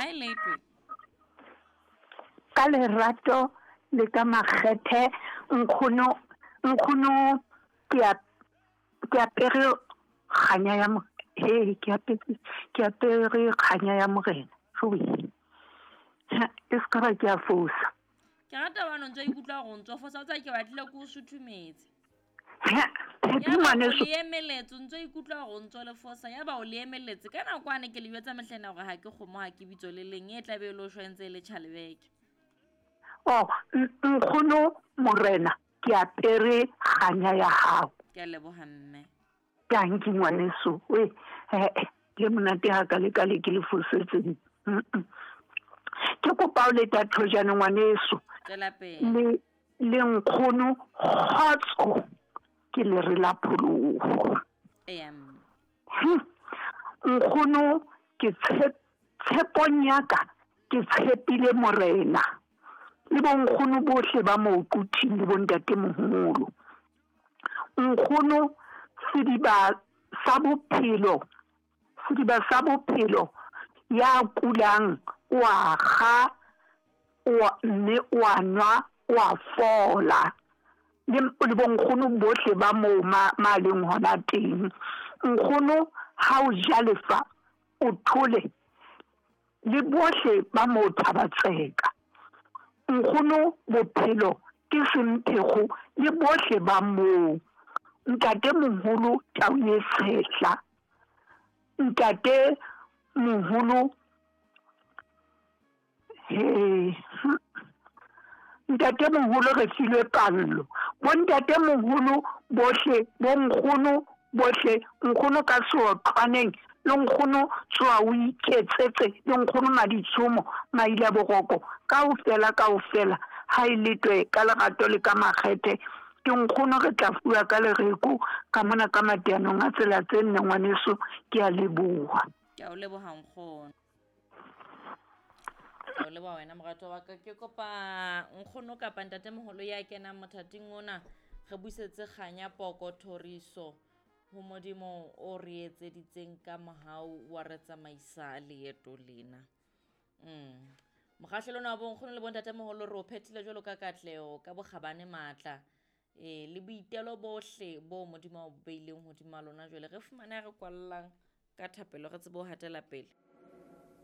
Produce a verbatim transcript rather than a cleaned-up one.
Ha e letwe. Ka lerato le ka makgethe nkgono, nkgono ke a ke apere kganya ya mo he ke apere ke apere kganya ya morena. Jowe. Ha, e se ka ba ke a fosa. Ke rata hobane o ntso ikutlwa hore o ntso fosa, o tseba ke batlile ke o suthumetse. Ha, Phepi Ya ba o ngwaneso. le emeletse, o ntso ikutlwa hore o ntso le fosa, ya ba o le emeletse. Ka nako ane ke le jwetsa mehlena hore ha ke kgomo ha ke bitso le leng, e tla be e le o shwa ntse e le tjhalebeke. Oh, nkgono morena, ke apere kganya ya hao. Ke a leboha mme. Tanki ngwaneso. We, eh, le monate ha ka le ka le ke le fosetseng. Mm-mm. Ke kopa o leta thojane ngwaneso. Tswela pele. Le le nkgono kgotso ke le re la pholoho. Eya mme. Hm. Nkgono ke tshep-, tshepong ya ka ke tshepile morena. Le bonkgono bohle ba mo kuthing le bontate moholo. Nkgono sediba sa bophelo, sediba sa bophelo ya kulang o a kga, o a, mme o a nwa, o a fola. Le, le bonkgono bohle ba moo ma, ma leng hona teng. Nkgono ha o ja lefa o thole, le bohle ba moo Thabatseka. Nkgono bophelo ke semphego le bohle ba moo. Ntate moholo tau e tshehla. Ntate moholo he. Ntate moholo re filwe pallo. Bontate moholo bohle, bonkgono bohle, nkgono ka seotlwaneng, le nkgono tsoa o iketsetse, le nkgono Maditshomo, Maila Boroko, kaofela kaofela, ha e letwe ka lerato le ka makgethe. Ke nkgono re tla fuwa ka lereko ka mona ka mateanong a tsela tse nne ngwaneso, ke a leboha. Ke a o leboha nkgono. Ke a o leboha wena morato wa ka. Ke kopa nkgono kapa ntatemoholo ya kenang mothating ona re buisetse kganya poko thoriso ho Modimo o re etseditseng ka mohau wa re tsamaisa leeto lena. Mm. Mokgahlelo ona wa bonkgono le bontatemoholo re o phethile jwalo ka katleho ka bokgabane matla. E, le boitelo bohle bo Modimo a bo beileng hodima lona jwale re fumane re kwallang ka thapelo re tsebe ho hatela pele.